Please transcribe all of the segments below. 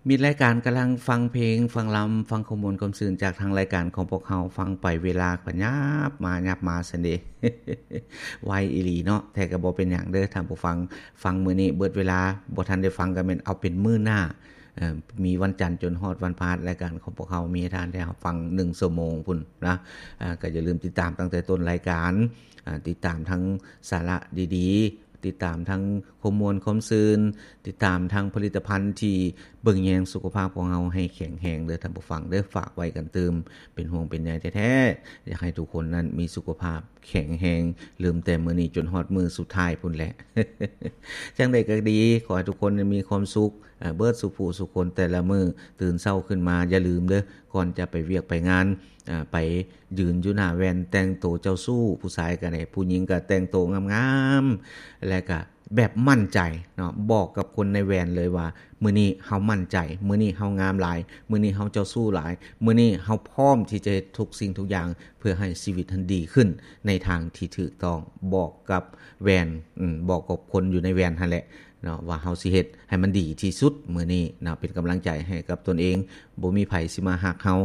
ມິດລາຍການກຳລັງຟັງເພງ, ຟັງລຳ, ຟັງຄວາມມ່ວນຄວາມຊື່ນຈາກທາງລາຍການຂອງພວກເຮົາ, ຟັງໄປເວລາກໍຫຍັບມາຫຍັບມາຊັ້ນເດ. ໄວອີ່ຫຼີເນາະ, ແຕ່ກໍບໍ່ເປັນຫຍັງເດີທ່ານຜູ້ຟັງ. ຟັງມື້ນີ້ເບິດເວລາ, ບໍ່ທັນໄດ້ຟັງກໍແມ່ນເອົາເປັນມື້ໜ້າ. ເອີ ມີວັນຈັນຈົນຮອດວັນພະຫັດ, ລາຍການຂອງພວກເຮົາມີໃຫ້ທ່ານໄດ້ຮັບຟັງໜຶ່ງຊົ່ວໂມງພຸ້ນນະ. ເອີ ກໍຢ່າລືມຕິດຕາມຕັ້ງແຕ່ຕົ້ນລາຍການ, ເອີ ຕິດຕາມທັງສາລະດີໆ, ຕິດຕາມທັງຄວາມມ່ວນຄວາມຊື່ນ, ຕິດຕາມທັງຜະລິດຕະພັນທີ່ເບິ່ງແຍງສຸຂະພາບຂອງເຮົາໃຫ້ແຂງແຮງເດີທ່ານຜູ້ຟັງເດີ. ຝາກໄວ້ກັນຕື່ມ, ເປັນຫ່ວງເປັນໃຍແທ້ໆ, ຢາກໃຫ້ທຸກຄົນນັ້ນມີສຸຂະພາບແຂງແຮງ, ເລີ່ມແຕ່ມື້ນີ້ຈົນຮອດມື້ສຸດທ້າຍພຸ້ນແຫຼະ. ຈັ່ງໃດກໍດີ, ຂໍໃຫ້ທຸກຄົນມີຄວາມສຸກ, ເອີ ເບິດສູ່ຜູ້ສູ່ຄົນແຕ່ລະມື້. ຕື່ນເຊົ້າຂຶ້ນມາ, ຢ່າລືມເດີ, ກ່ອນຈະໄປວຽກໄປງານ, ເອີ ໄປຢືນຢູ່ໜ້າແວ່ນ, ແຕ່ງໂຕເຈົ້າຊູ້, ຜູ້ຊາຍກໍໄດ້, ຜູ້ຍິງກໍແຕ່ງໂຕງາມໆ ແລະກະແບບໝັ້ນໃຈເນາະ, ບອກກັບຄົນໃນແວ່ນເລີຍວ່າ ມື້ນີ້ເຮົາໝັ້ນໃຈ, ມື້ນີ້ເຮົາງາມຫຼາຍ, ມື້ນີ້ເຮົາເຈົ້າຊູ້ຫຼາຍ, ມື້ນີ້ເຮົາພ້ອມທີ່ຈະເຮັດທຸກສິ່ງທຸກຢ່າງ ເພື່ອໃຫ້ຊີວິດຫັ້ນດີຂຶ້ນໃນທາງທີ່ຖືກຕ້ອງ. ບອກກັບແວ່ນ, ອືມ, ບອກກັບຄົນຢູ່ໃນແວ່ນຫັ້ນແຫຼະເນາະ ວ່າເຮົາຊິເຮັດໃຫ້ມັນດີທີ່ສຸດມື້ນີ້ເນາະ, ເປັນກຳລັງໃຈໃຫ້ກັບຕົນເອງ. ບໍ່ມີໃຜຊິມາຮັກເຮົາ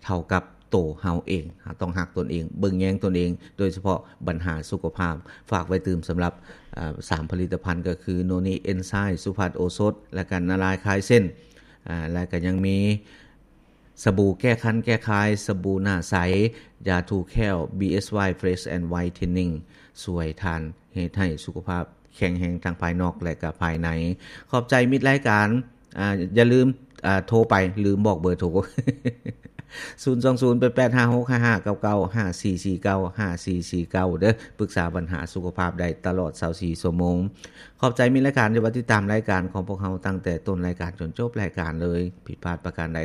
ເທົ່າກັບໂຕເຮົາເອງ. ເຮົາຕ້ອງຮັກຕົນເອງ, ເບິ່ງແຍງຕົນເອງ, ໂດຍສະເພາະບັນຫາສຸຂະພາບ. ຝາກໄວ້ຕື່ມສຳລັບ, ເອີ, ສາມຜະລິດຕະພັນ ກໍຄື ໂນນິເອນໄຊ, ສຸພັດໂອສົດ ແລະກະນາລາຍຄາຍເສັ້ນ, ເອີ, ແລະກະຍັງມີ ສະບູແກ້ຄັນແກ້ຄາຍ, ສະບູໜ້າໃສ, ຢາຖູແຂ້ວ ບີເອສວາຍ Fresh and Whitening ຊ່ວຍທ່ານເຮັດໃຫ້ສຸຂະພາບແຂງແຮງທັງພາຍນອກ ແລະກະພາຍໃນ. ຂອບໃຈມິດລາຍການ, ອາ, ຢ່າລືມ, ອາ, ໂທໄປ, ລືມບອກເບີໂທ, ສູນສອງສູນ ແປດແປດຫ້າຫົກຫ້າເກົ້າເກົ້າ, ຫ້າສີ່ສີ່ເກົ້າ ຫ້າສີ່ສີ່ເກົ້າ ເດີ. ປຶກສາບັນຫາສຸຂະພາບໄດ້ຕະຫຼອດຊາວສີ່ຊົ່ວໂມງ. ຂອບໃຈມິດລາຍການທີ່ວ່າຕິດຕາມລາຍການຂອງພວກເຮົາຕັ້ງແຕ່ຕົ້ນລາຍການຈົນຈົບລາຍການເລີຍ. ຜິດພາດປະການໃດ